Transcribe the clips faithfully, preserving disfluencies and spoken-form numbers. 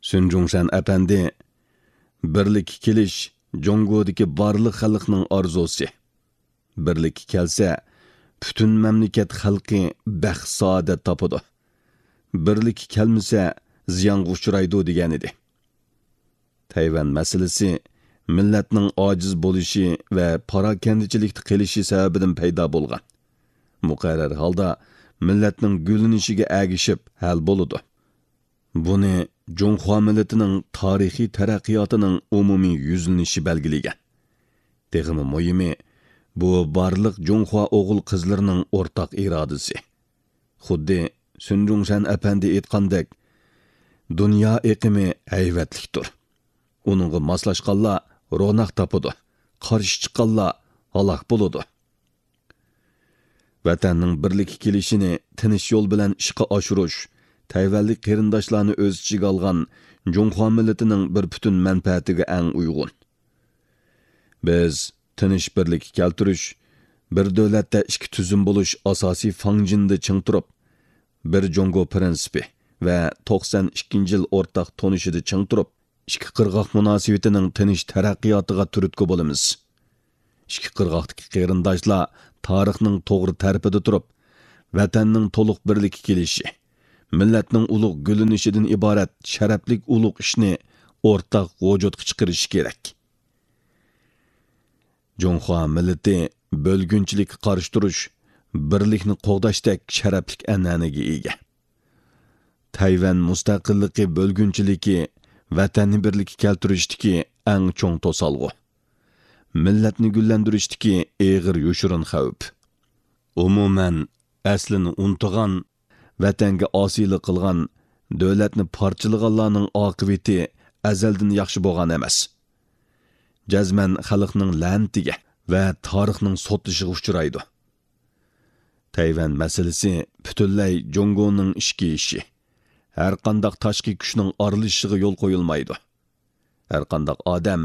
سۈن جۇڭشەن ئەپەندى، بىرلىككە كېلىش جۇڭگودىكى بارلىق خەلقنىڭ ئارزۇسى. بىرلىككە كەلسە، پۈتۈن مەملىكەت خەلقى بەخت-سائادەت تاپىدۇ. بىرلىككە كەلمىسە، زىيانغا ئۇچرايدۇ، دېگەنىدى. تەيۋەن مەسىلىسى مىللەتنىڭ ئاجىز بولۇشى ۋە پاراكەندىچىلىكتە قېلىشى سەۋەبىدىن پەيدا بولغان. مۇقەررەر ھالدا مىللەتنىڭ گۈللىنىشىگە ئەگىشىپ ھەل بولىدۇ. بۇنى جۇڭخۇا مىللىتىنىڭ تارىخىي تەرەققىياتىنىڭ ئومۇمىي يۈزلىنىشى بەلگىلىگەن. تېخىمۇ مۇھىمى، بۇ بارلىق جۇڭخۇا ئوغۇل-قىزلىرىنىڭ ئورتاق ئىرادىسى. خۇددى سۈن جۇڭشەن ئەپەندى ئېيتقاندەك، دۇنيا ئېقىمى ھەيۋەتلىكتۇر. ئۇنىڭغا ماسلاشقانلار روناق تاپىدۇ، قارشى چىققانلار ھالاك بولىدۇ. ۋەتەننىڭ بىرلىككە كېلىشىنى تىنچ يول بىلەن ئىشقا ئاشۇرۇش تەيۋەنلىك قېرىنداشلارنى ئۆز ئىچىگە ئالغان جۇڭخۇا مىللىتىنىڭ بىر پۈتۈن مەنپەئەتىگە ئەڭ ئۇيغۇن. بىز تىنچ بىرلىككە كەلتۈرۈش، بىر دۆلەتتە ئىككى تۈزۈم بولۇش ئاساسىي فاڭجېنىدا چىڭ تۇرۇپ، بىر جۇڭگو پىرىنسىپى ۋە توقسان ئىككىنچى يىل ئورتاق تونۇشىدا چىڭ تۇرۇپ، ئىككى قىرغاق مۇناسىۋىتىنىڭ تىنچ تەرەققىياتىغا تۈرتكە بولىمىز. ئىككى قىرغاقتىكى قېرىنداشلار تارىخنىڭ توغرا تەرىپىدە تۇرۇپ، ۋەتەننىڭ تولۇق بىرلىككە كېلىشى، مىللەتنىڭ ئۇلۇغ گۈللىنىشىدىن ئىبارەت شەرەپلىك ئۇلۇغ ئىشنى ئورتاق ۋۇجۇدقا چىقىرىشى كېرەك. جۇڭخۇا مىللىتى بۆلگۈنچىلىككە قارشى تۇرۇش، بىرلىكنى قوغداشتەك شەرەپلىك ئەنئەنىگە ئىگە. تەيۋەن مۇستەقىللىقى بۆلگۈنچىلىكى ۋەتەننى بىرلىككە كەلتۈرۈشتىكى ئەڭ چوڭ توسالغۇ. مىللەتنى گۈللەندۈرۈشتىكى ئېغىر يوشۇرۇن خەۋپ. ئومۇمەن، ئەسلىنى ئۇنتۇغان، ۋەتەنگە ئاسىيلىق قىلغان، دۆلەتنى پارچىلىغانلارنىڭ ئاقىۋىتى ئەزەلدىن ياخشى بولغان ئەمەس. جەزمەن خەلقنىڭ لەنىتىگە ۋە تارىخنىڭ سوتلىشىغا ئۇچرايدۇ. تەيۋەن مەسىلىسى پۈتۈنلەي جۇڭگونىڭ ئىچكى ئىشى. ھەرقانداق تاشقى كۈچنىڭ ئارىلىشىشىغا يول قويۇلمايدۇ. ھەرقانداق ئادەم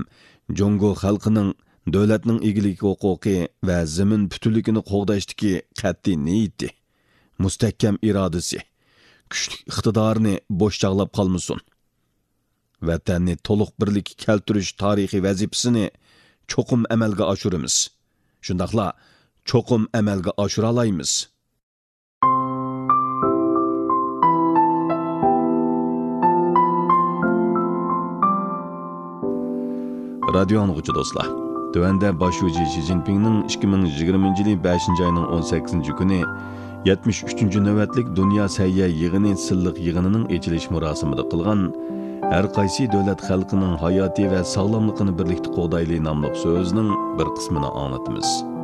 جۇڭگو خەلقىنىڭ، دۆلەتنىڭ ئىگىلىك ھوقۇقى ۋە زېمىن پۈتۈنلۈكىنى قوغداشتىكى قەتئىي نىيىتى، مۇستەھكەم ئىرادىسى، كۈچلۈك ئىقتىدارىنى بوش چاغلاپ قالمىسۇن. ۋەتەننى تولۇق بىرلىككە كەلتۈرۈش تارىخىي ۋەزىپىسىنى چوقۇم ئەمەلگە ئاشۇرىمىز. شۇنداقلا چوقۇم ئەمەلگە ئاشۇرالايمىز. رادىيو ئاڭلىغۇچى دوستلار، تۆۋەندە باش شۇجى شى جىنپىڭنىڭ ئىككى مىڭ يىگىرمىنچى يىلى بەشىنچى ئاينىڭ ئون سەككىزىنچى كۈنى يەتمىش ئۈچىنچى نۆۋەتلىك دۇنيا سەھىيە يىغىنى سىنلىق يىغىنىنىڭ ئېچىلىش مۇراسىمىدا قىلغان ھەر قايسى دۆلەت خەلقىنىڭ ھاياتى ۋە ساغلاملىقىنى بىرلىكتە قوغدايلى ناملىق سۆزىنىڭ بىر قىسمىنى ئاڭلىتىمىز.